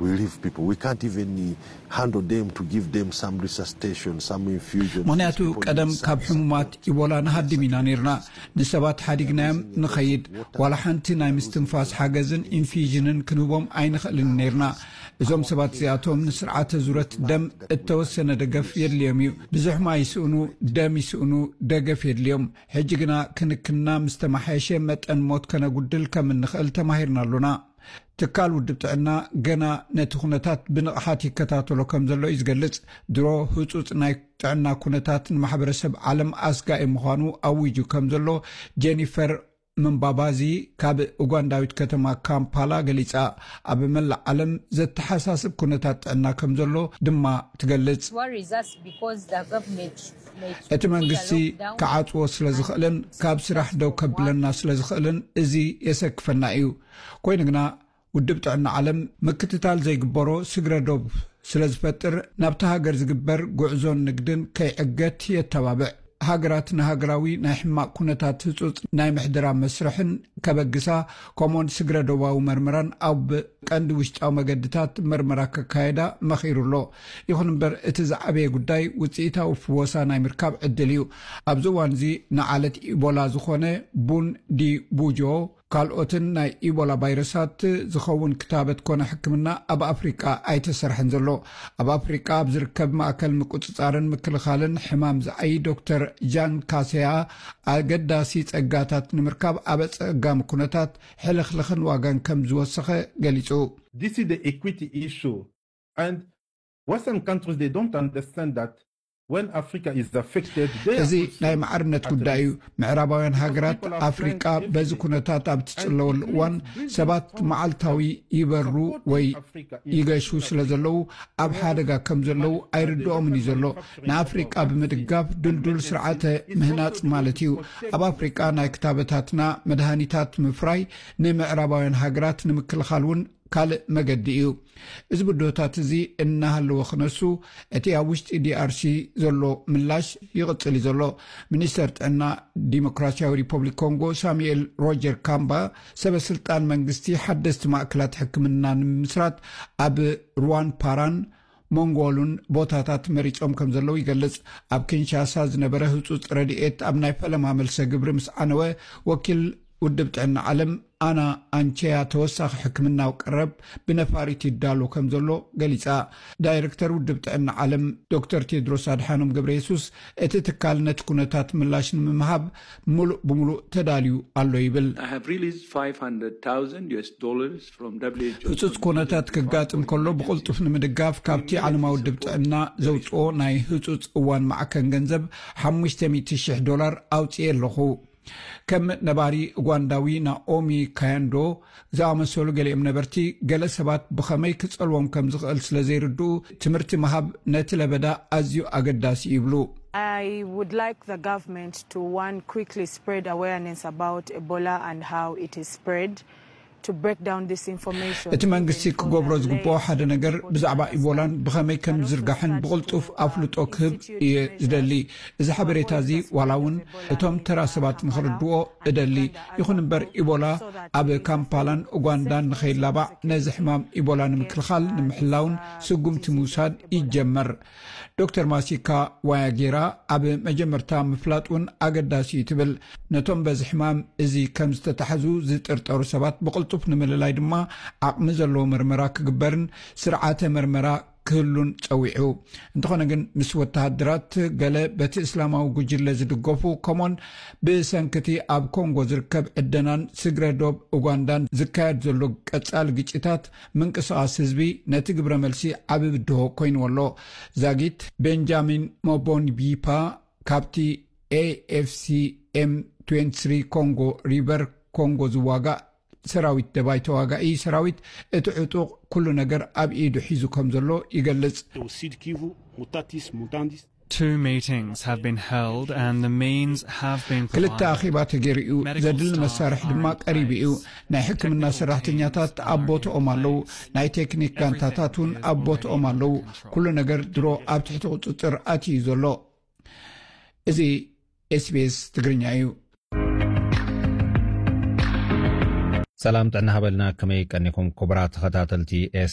We leave people. We can't even handle them to give them some resuscitation, some infusion. ምኽንያቱ ቀደም ካብ ሕሙማት ኢቦላ ንሃድም ኢና ነርና። ንሰባት ሓዲግናዮም ንኸይድ። ዋላ ሓንቲ ናይ ምስትንፋስ ሓገዝን ኢንፊዥንን ክንህቦም ኣይንኽእልን ነርና። እዞም ሰባት እዚኣቶም ንስርዓተ ዙረት ደም እተወሰነ ደገፍ የድልዮም እዩ። ብዙሕ ማይ ይስእኑ፣ ደም ይስእኑ፣ ደገፍ የድልዮም። ሕጂ ግና ክንክንና ምስ ተመሓየሸ መጠን ሞት ከነጉድል ከም እንኽእል ተማሂርና ኣሎና። ትካል ውድብ ጥዕና ገና ነቲ ኩነታት ብንቕሓት ይከታተሎ ከም ዘሎ እዩ ዝገልጽ። ድሮ ህጹጽ ናይ ጥዕና ኩነታት ንማሕበረሰብ ዓለም ኣስጋኢ ምዃኑ ኣዊጁ ከም ዘሎ ጀኒፈር ምንባባዚ ካብ ኡጋንዳዊት ከተማ ካምፓላ ገሊጻ። ኣብ መላእ ዓለም ዘተሓሳስብ ኩነታት ጥዕና ከም ዘሎ ድማ ትገልጽ። እቲ መንግስቲ ክዓጽዎ ስለ ዝኽእልን ካብ ስራሕ ደው ከብለና ስለ ዝኽእልን እዚ የሰክፈና እዩ። ኮይኑ ግና ውድብ ጥዕና ዓለም ምክትታል ዘይግበሮ ስግረ ዶብ ስለ ዝፈጥር ናብቲ ሃገር ዝግበር ጉዕዞን ንግድን ከይዕገት የተባብዕ። ሃገራት ንሃገራዊ ናይ ሕማቕ ኩነታት ህጹጽ ናይ ምሕደራ መስርሕን ከበግሳ፣ ከምኡውን ስግረ ዶባዊ መርመራን ኣብ ቀንዲ ውሽጣዊ መገድታት መርመራ ከካየዳ መኺሩ ኣሎ። ይኹን እምበር እቲ ዝዓበየ ጉዳይ ውጽኢታዊ ፍወሳ ናይ ምርካብ ዕድል እዩ። ኣብዚ እዋን እዚ ንዓለት ኢቦላ ዝኾነ ቡን ዲ ቡጆ ካልኦትን ናይ ኢቦላ ቫይረሳት ዝኸውን ክታበት ኮነ ሕክምና ኣብ ኣፍሪቃ ኣይተሰርሐን ዘሎ። ኣብ ኣፍሪቃ ኣብ ዝርከብ ማእከል ምቁጽጻርን ምክልኻልን ሕማም ዝዓይ ዶክተር ጃን ካሰያ ኣገዳሲ ጸጋታት ንምርካብ ኣብ ኣጸጋሚ ኩነታት ሕልኽልኽን ዋጋን ከም ዝወሰኸ ገሊጹ። This is the equity issue. And Western countries, they don't understand that when Africa is affected, they are እዚ also ናይ ማዕርነት at ጉዳይ እዩ። risk. ምዕራባውያን ሃገራት ኣፍሪቃ በዚ ኩነታት ኣብ ትጽለወሉ እዋን ሰባት መዓልታዊ ይበሩ ወይ ይገሹ ስለ ዘለዉ ኣብ ሓደጋ ከም ዘለዉ ኣይርድኦምን እዩ ዘሎ። ንኣፍሪቃ ብምድጋፍ ድልዱል ስርዓተ ምህናጽ ማለት እዩ። ኣብ ኣፍሪቃ ናይ ክታበታትና፣ መድሃኒታት ምፍራይ ንምዕራባውያን ሃገራት ንምክልኻል እውን ካልእ መገዲ እዩ። እዚ ብድሆታት እዚ እናሃለወ ክነሱ፣ እቲ ኣብ ውሽጢ ዲኣርሲ ዘሎ ምላሽ ይቕጽል እዩ ዘሎ። ሚኒስተር ጥዕና ዲሞክራሲያዊ ሪፐብሊክ ኮንጎ ሳሙኤል ሮጀር ካምባ፣ ሰበ ስልጣን መንግስቲ ሓደስቲ ማእከላት ሕክምና ንምምስራት ኣብ ሩዋን ፓራን ሞንጎሉን ቦታታት መሪጾም ከም ዘለዉ ይገልጽ። ኣብ ኪንሻሳ ዝነበረ ህጹጽ ረድኤት ኣብ ናይ ፈለማ መልሰ ግብሪ ምስ ዓነወ፣ ወኪል ውድብ ጥዕና ዓለም ኣና ኣንቸያ ተወሳኺ ሕክምናዊ ቀረብ ብነፋሪት ይዳሎ ከም ዘሎ ገሊጻ። ዳይረክተር ውድብ ጥዕና ዓለም ዶክተር ቴድሮስ ኣድሓኖም ገብረ የሱስ፣ እቲ ትካል ነቲ ኩነታት ምላሽ ንምሃብ ምሉእ ብምሉእ ተዳልዩ ኣሎ ይብል። I have released five hundred thousand U S dollars from W H O. ህጹጽ ኩነታት ክጋጥም ከሎ ብቕልጡፍ ንምድጋፍ ካብቲ ዓለማዊ ውድብ ጥዕና ዘውጽኦ ናይ ህጹጽ እዋን ማዕከን ገንዘብ ሓሙሽተ ሚእቲ ሽሕ ዶላር ኣውጽኤ ኣለኹ። ከም ነባሪ ኡጋንዳዊ ናኦሚ ካያንዶ ዝኣመሰሉ ገሊኦም ነበርቲ፣ ገለ ሰባት ብኸመይ ክጸልዎም ከም ዝኽእል ስለ ዘይርድኡ፣ ትምህርቲ ምሃብ ነቲ ለበዳ ኣዝዩ ኣገዳሲ ይብሉ። I would like the government to, one, quickly spread awareness about Ebola and how it is spread, to break down this information. እቲ መንግስቲ ክገብሮ ዝግብኦ ሓደ ነገር ብዛዕባ ኢቦላን ብኸመይ ከም ዝዝርጋሕን ብቕልጡፍ ኣፍልጦ ክህብ እየ ዝደሊ። እዚ ሓበሬታ እዚ ዋላ እውን እቶም ተራ ሰባት ንኽርድዎ እደሊ። ይኹን እምበር ኢቦላ ኣብ ካምፓላን ኡጋንዳን ንኸይላባዕ ነዚ ሕማም ኢቦላ ንምክልኻል ንምሕላውን ስጉምቲ ምውሳድ ይጀመር። ዶክተር ማሲካ ዋያጌራ ኣብ መጀመርታ ምፍላጥ እውን ኣገዳሲ እዩ ትብል። ነቶም በዚ ሕማም እዚ ከም ዝተታሕዙ ዝጥርጠሩ ሰባት ብቕልጡፍ ንምልላይ ድማ ዓቕሚ ዘለዎ መርመራ ክግበርን ስርዓተ መርመራ ክህሉን ጸዊዑ። እንተኾነ ግን ምስ ወተሃደራት ገለ በቲ እስላማዊ ጉጅለ ዝድገፉ ከምኡን ብሰንክቲ ኣብ ኮንጎ ዝርከብ ዕደናን ስግረ ዶብ ኡጋንዳን ዝካየድ ዘሎ ቀጻሊ ግጭታት ምንቅስቓስ ህዝቢ ነቲ ግብረ መልሲ ዓቢ ብድሆ ኮይንዎ ኣሎ። ዛጊት ቤንጃሚን ሞቦንቢፓ ካብቲ A F C M twenty-three ኮንጎ ሪቨር ኮንጎ ዝዋጋእ ሰራዊት ደባይ ተዋጋኢ ሰራዊት እቲ ዕጡቕ ኩሉ ነገር ኣብ ኢዱ ሒዙ ከም ዘሎ ይገልጽ። O Sud Kivu, Mutatis Mutandis. Two meetings have been held and the means have been ክልተ provided. ኣኼባ ተገይሩ እዩ። ዘድሊ መሳርሒ ድማ ቀሪቡ እዩ። ናይ ሕክምና ሰራሕተኛታት ኣብ ቦታኦም ኣለዉ። ናይ ቴክኒክ ጋንታታት እውን ኣብ ቦታኦም ኣለዉ። ኩሉ ነገር ድሮ ኣብ ትሕቲ ቁጽጽር ኣትዩ እዩ ዘሎ። እዚ S B S ትግርኛ እዩ። ሰላም ጥዕና ሃበልና፣ ከመይ ቀኒኹም ክቡራት ተኸታተልቲ S B S?